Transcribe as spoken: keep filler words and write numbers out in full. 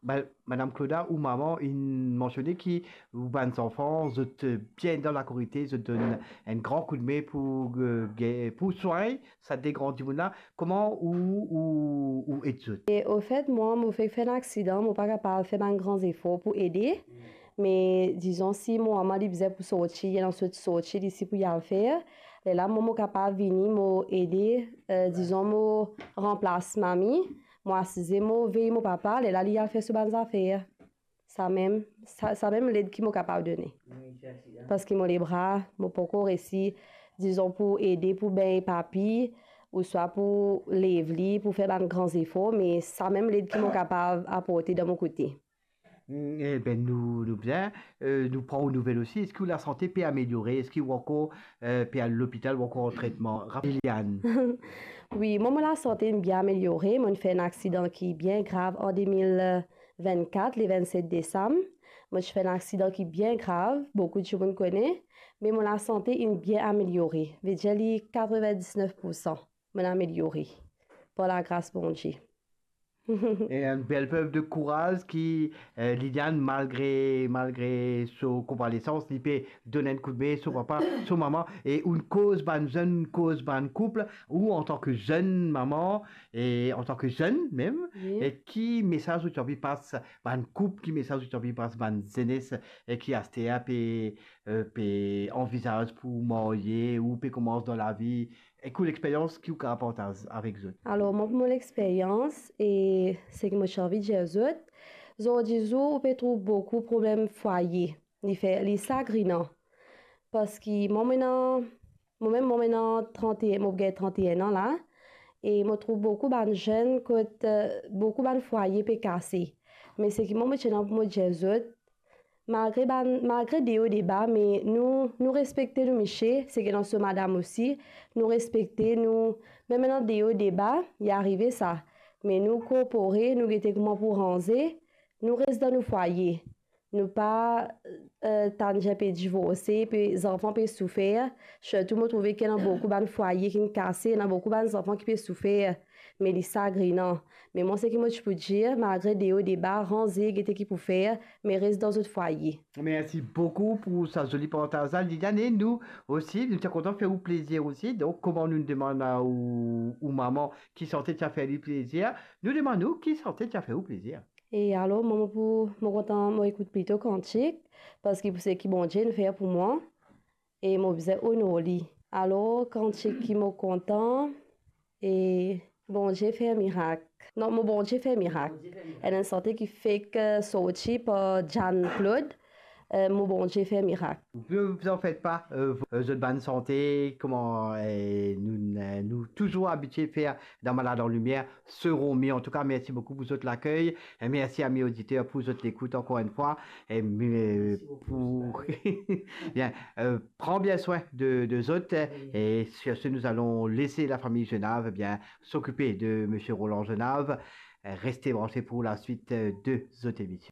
Be, Madam Claudia, ou mama inn mansione ki ou bann zanfan, zot, eh, bien dan lakorite, zot donn enn gran koudme pou, eh, ge-, pou swagn sa de gran dimoun la. Kouma ou, ou, ou ed zot? E, ofet, mwa, mo fek fer enn aksidan, mo pa kapav fer bann gran zefor pou ede. Me, dizon, si mo mama li bizin pou sorti, li ena sort sorti li isi pou li al fer, lerla mwa, mo kapav vini, mo ede, eh, dizon, mo ranplas mami, mo asize, mo vey mo papa, lerla li al fer so bann zafer. Samem, sa, samem led ki mo kapav done. Parski mo lebra, mo pankor resi, dizon, pou ede, pou bengn papi, ouswa pou lev li, pou fer bann gran zefor, me samem led ki mo kapav aporte dan mo kote. Mm, e be, nou, nou bien, eh, nou pran ou nouvel osi. Eski ou lasante pe ameliore? Eski ou ankor, eh, pe al lopital ou ankor an tretman? Rapid, Liliane. Wi, mwa, mo lasante inn bien ameliore. Mo inn fer enn aksidan ki bien grav an de mil vennkat, le vennset desam. Mo ti fer enn aksidan ki bien grav, boukou dimoun kone, me mo lasante inn bien ameliore. Vedir li katrevendiznef poursan mo inn ameliore, par lagras Bondie. E enn bel prev de kouraz ki, eh, Liliane, malgre, malgre so konvalesans, li pe donn enn koudme so papa, so mama, e ou koz bann zenn, koz bann koup, ou antan ki zenn mama, e antan ki zenn mem, wi, e ki mesaz ou ti anvi pas bann koup, ki mesaz ou ti anvi pas bann zenes, e ki aster pe, eh, pe anvizaz pou marye, ou pe koumans dan lavi, e ki lexperyans ki ou kapav partaz avek zot? Alor, mwa, pou mo lexperyans, e seki mo ti anvi dir zot, zordi zour, ou pe trouv boukou problem fwaye. Li fer, li sagrinan. Parski mwa, mo ena, mwa mem, mwa, mo ena trante, mo gagn trante-enn an la, e mo trouv boukou bann zenn kot, eh, boukou bann fwaye pe kase. Me seki mwa, mo ti ena pou mo dir zot, malgre bann, malgre deo deba, me nou, nou respekte nou misie, seki ena so madam osi, nou respekte nou, mem ena deo deba, li arive sa. Me nou korpore, nou gete kouma pou ranze, nou res dan nou fwaye. Nou pa, eh, tann dir pe divorse, pe, zanfan pe soufer. Sirtou mo trouve ki ena boukou bann fwaye ki'nn kase, ena boukou bann zanfan ki pe soufer. Me li sagrinan. Me mwa, seki mo ti pou dir, malgre deo deba, ranze, gete ki pou fer, me res dan zot fwaye. Mersi boukou pou sa zoli partaz la, Liliane. E nou osi, nou ti kontan fer ou plezir osi. Donk, kouma nou demann a ou, ou mama ki sante ti a fer li plezir, nou demann ou ki sante ti a fer ou plezir. E alor, mwa, mo pou, mo kontan, mo ekout plito kantik, parski pou seki Bondie inn fer pou mwa, e mo bizin onor li. Alor, kantik ki mo kontan, e Bondie fer mirak. Non, Mo Bondie fer mirak. Bondie fer mirak. Enn, enn sante ki fek, eh, sorti par Jeanne Claude, eh, Mo Bondie fer mirak. Ne vous en faites pas, eh, zot bann sante, kouma, eh, nou, eh, nou touzour abitie fer dan Malad an Limier, seront mieux. Antouka, mersi boukou pou zot lakey. E mersi, ami oditer, pou zot lekout ankor enn fwa. E, eh, pou, bien, eh, pran bien swin de, de zot. Wi. E sur ce, nous allons laisser la famille Jenave, eh bien, s'occuper de Monsieur Roland Jenave. Eh, restez branchés pour la suite, eh, de zot emisyon.